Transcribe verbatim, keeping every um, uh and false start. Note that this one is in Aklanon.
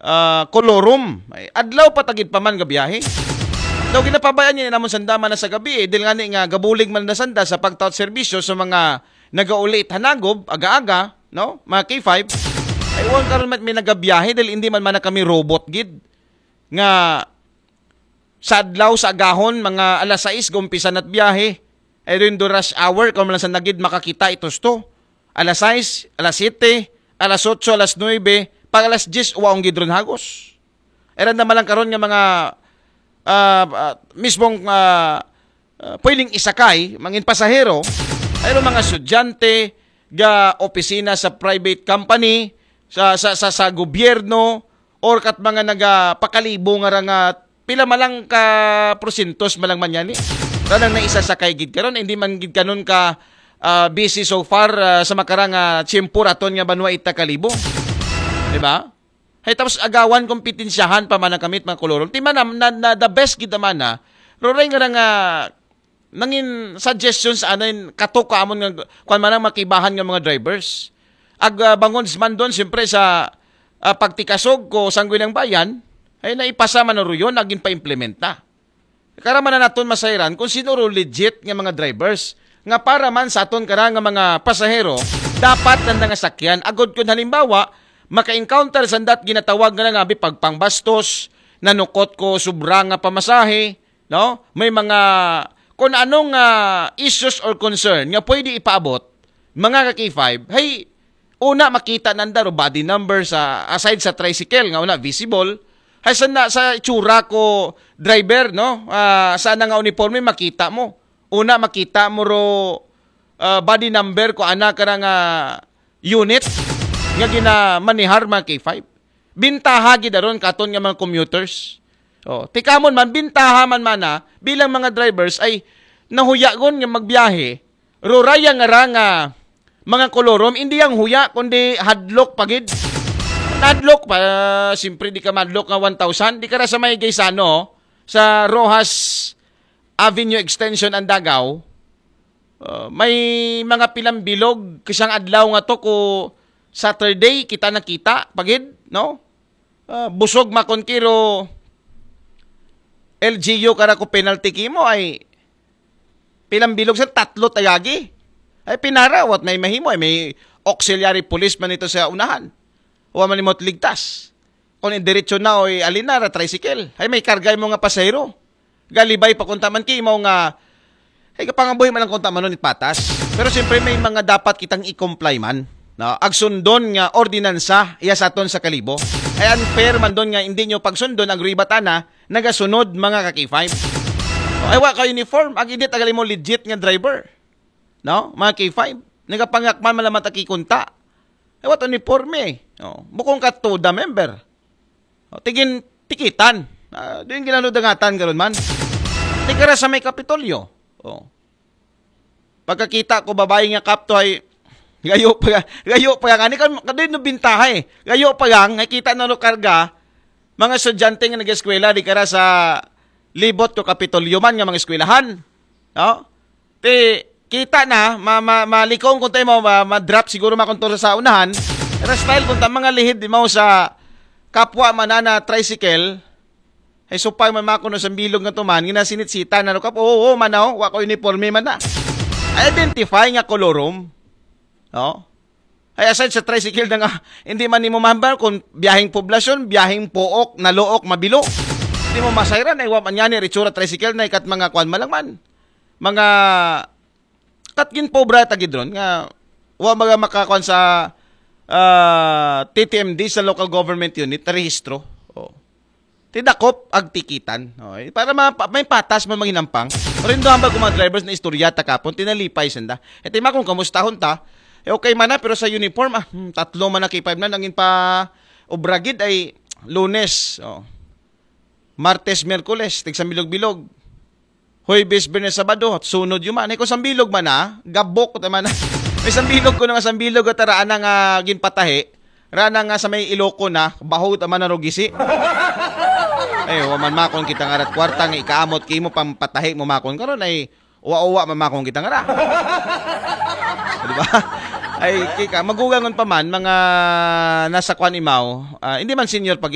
ah, Colorum. Ay, adlaw pa tagid pa man nga biyahe. Daw ginapabayaan niya namon sanda man na sa gabi, eh. Dil nga ni nga gabulig man na sanda sa pagtaot serbisyo sa mga nagaulit hanagob, aga-aga, no? Mga K five. Ay, wan karon man may nagabiyahe dahil hindi man man na kami robot gid. Nga sa adlaw, sa agahon, mga alas sais, gumpisa na't biyahe. Ay, rin do rush hour, kung lang sa nagid makakita itos to. Alas sais, alas siyete, alas otso, alas nuebe, pag alas diyes, uwaong gid ron hagos. Eran na malang karon nga mga, ah, ah, mismong, ah, ah, pwedeng isakay, mangin pasahero, ay mga estudyante, ga opisina sa private company, sa, sa, sa, sa gobyerno, or kat mga nagapakalibo nga ra nga pila malang ka porsentos malang man yan eh. Ranang naisasakay gid karon, hindi man gid kanon ka ah, busy so far ah, sa makarang ah, tiyempo raton nga banwa ita kalibo. Di ba? Hay tapos agawan kompetensyahan pa man ang kamit mga kolorum. Ti man na, na, na the best gid man na. Roray nga nga nangin suggestions anin kato ka amon nga kwan man ang makibahan nga mga drivers. Ag ah, bangon man doon siyempre sa ah, pagtikasog ko sanggoy ng bayan ay naipasa man ang ruyon agin pa-implement na. Karamanan naton masayran kung sino ro legit nga mga drivers nga para man sa aton kara nga mga pasahero dapat nanda nga sakyan agod kun halimbawa maka-encounter sandat ginatawag nga nga bi pagpangbastos, nanukot ko sobra nga pamasahe, no? May mga kung anong ah, issues or concern nga pwede ipaabot mga ka K five, hay una makita nanda ro body number sa aside sa tricycle nga una visible, hay sa na, sa itsura ko driver no, ah, sa na nga uniforme makita mo. Una makita mo ro ah, body number ko ana ka nga unit nga ginamanihar mga K five. Bintaha gid aron katon nga mga commuters. Oh, tikamon man bintaha man mana bilang mga drivers ay nahuyagon nga magbiyahe. Ruraya nga ra nga mga kolorom, hindi ang huya kundi hadlok pa gid. Hadlok pa, siyempre di ka madlok nga one thousand, di ka ra sa may Gaisano, sa Rojas Avenue Extension ang Dagaw. Uh, may mga pilang bilog kasang adlaw nga to ko Saturday kita nakita pagid, no? Uh, busog makon kiro L G U kara ko penalty kimo ay pilang bilog sa tatlo tagagi. Ay pinara, what may mahimo, ay may auxiliary police man ito sa unahan. Wa man imot ligtas. Kung diretso na o alin na, ra tricycle. Ay may karga mo nga pasahero. Galibay pa kunta man kimo nga ay kapangabuhi man ang kunta manon it patas. Pero siyempre may mga dapat kitang i-comply man. No? Agsundon nga ordinansa iya sa aton sa kalibo. Ay unfair man doon nga hindi nyo pagsundon ang ribatana nagasunod mga ka K five. Ay wa ka uniform, ag init agali mo legit nga driver. No? Mga K five. Nagapangakman malamat aki kunta. Ay wa uniforme. No? Bukong ka to the member. O, tigin tikitan. Ah, di yung ginanudangatan karon man. Tigara sa may Kapitolyo. O. Pagkakita ko babae nga kapto ay gayo pa gayo pa nga ni kan kadin no bintaha eh. Gayo pa gang nakita na no karga mga estudyante nga nag-eskwela di kara sa libot ko Kapitolyo man nga mga eskwelahan. No? Ti kita na ma, ma, malikong kun tayo mo ma, ma-drop siguro makontor sa unahan. Pero style kun ta mga lihid di mo sa kapwa manana tricycle. Ay supay man mako no sa bilog nga tuman, ginasinit-sita na no kap. Oo, oo man na, oh, wa ko uniforme man na. Identify nga kolorum. No? Ay aside sa tricycle na nga, hindi man nimo mahambar kung biyaheng poblasyon, biyaheng pook, naluok, mabilo. Hindi mo masayran, ay wa man yan, ritsura tricycle na ikat mga kwan malangman. Mga kat gin pobra tagidron nga wa mga makakuan sa ah, T T M D sa local government unit na rehistro. Oh. Tidakop ag tikitan. Oh, eh, para ma, pa- may patas man manghinampang. Pero yung hambal ko mga drivers na istorya ta kapon, tinalipay sanda. E tima kung kamustahon ta, eh, okay man na, pero sa uniform, ah, hmm, tatlo man na K five na, nangin pa obragid ay lunes. Oh. Martes, Miyerkules, tigsambilog-bilog. Huwebes, Biyernes, Sabado, sunod yun man. Eh, kung sambilog man na, gabok ta man na. May sambilog ko na nga sambilog at raan na nga ginpatahi. Raan na nga sa may iloko na, baho ta man na rugisi. Eh, wa man makon kita nga rat kwarta nga ikaamot kimo pampatahi mo makon karon ay uwa-uwa man makon kita nga ra. Di ba? Ay, kika, magugangon pa man, mga nasa kwan imaw, ah, hindi man senior pag